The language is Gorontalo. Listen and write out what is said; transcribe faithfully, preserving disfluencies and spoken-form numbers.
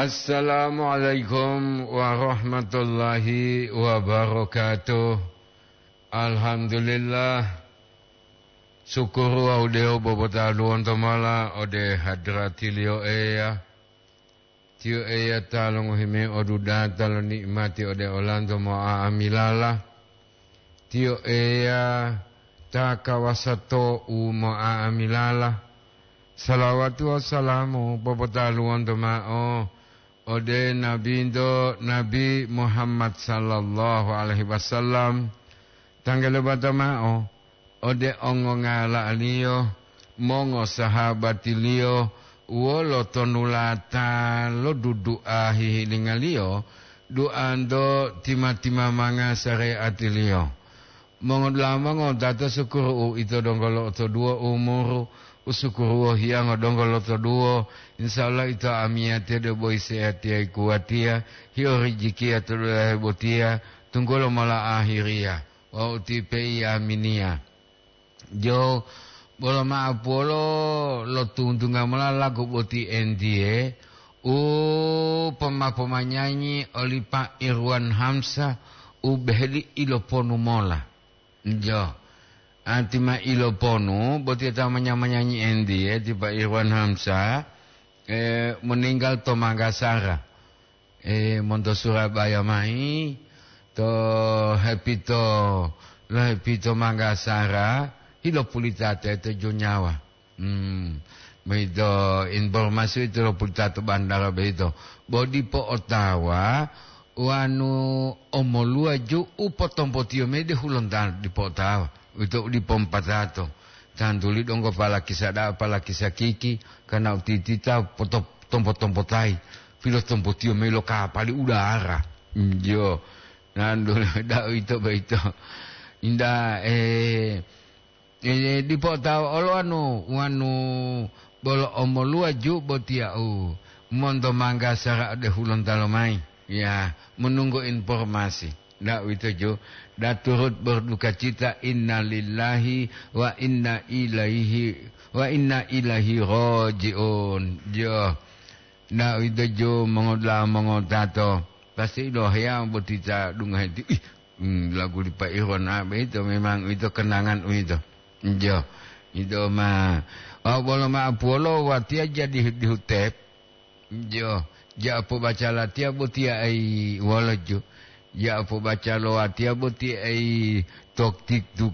Assalamualaikum warahmatullahi wabarakatuh. Alhamdulillah. Sukuru wawu dewo bobotaluwonto mola ode hadratiliyo Eya. Tiyo Eya ta longohi mayi odudata lo ni'imati ode olanto mo'a'amilala. Tiyo Eya ta kawasa to'u mo'a'amilala. Salawati wawu salamu popotaluwonto ma'o ode Nabinto Nabi Muhammad sallallahu alaihi wasallam, tanggalebata ma'o ode ongongala'aliyo, mongosahabatiliyo, wolo tonulata lo dudu'a hihilingaliyo, duanto tima-timamanga sareatiliyo. Mongodula'a mongowutato, sukuru uito donggo lo'otoduwo umuru, usukuruwo hiyango donggo lotoduwo, insya Allah ito amiyatiya debo iseyatiya ikuwatiya, hiyo rijikiya to dulahe botiya, tunggulo mola ahiriya, wawu ti peyaminiya. Jo, bolo ma'apuwolo lo tuntunga mola lagu boti entiye, u poma-pomanyanyi oli Pa Irwan Hamsa, u beheli iloponu mola. Jo. Anti ma iloponu, boti ta manya-manyanyi entiye, ti Pa Irwan Hamsa, eh, meninggal to Makassar. Eh, monto Surabaya mayi, to hepito, lo hepito Makassar, hilopulitate to jo nyawa. Hmm, boyito informasi itu lo pulita to bandara boyito. Bo dipo otawa wanu omoluwa ju u potompotiyo mayi de hulontalo dipo otawa. Uwito u dipo mpatato. Tantuli donggo palakisa da'a, palakisa kiki, kana utitita poto-, tompo-tompotayi. Pilotompotiyo mayi lo kapali udara. Njo. Nandule da'a uwito boyito. Inda, eh, Eh, dipo otawa olo wanu, wanu bolo omoluwa ju botiya u monto Makassar ode hulontalo mayi. Ya, menunggu informasi. Nda uwito ju, da turut berduka cita, innalillahi wa inna ilaihi, wa inna ilaihi raji'un. Jo. Nda uwito ju mongodula'a mongotato, pasti iloheya boti ta dungohe ti, ih, hmm, lagu li Pa Irwan a boyito memang uwito kenangan uwito. Jo, ito ma, wawu bolo ma'apuwolo watiya jadi dihu tep. Jo, ja pobaca latiya botiya ai wolo ju. Ja pobaca lo watiya boti ai tok tik tuk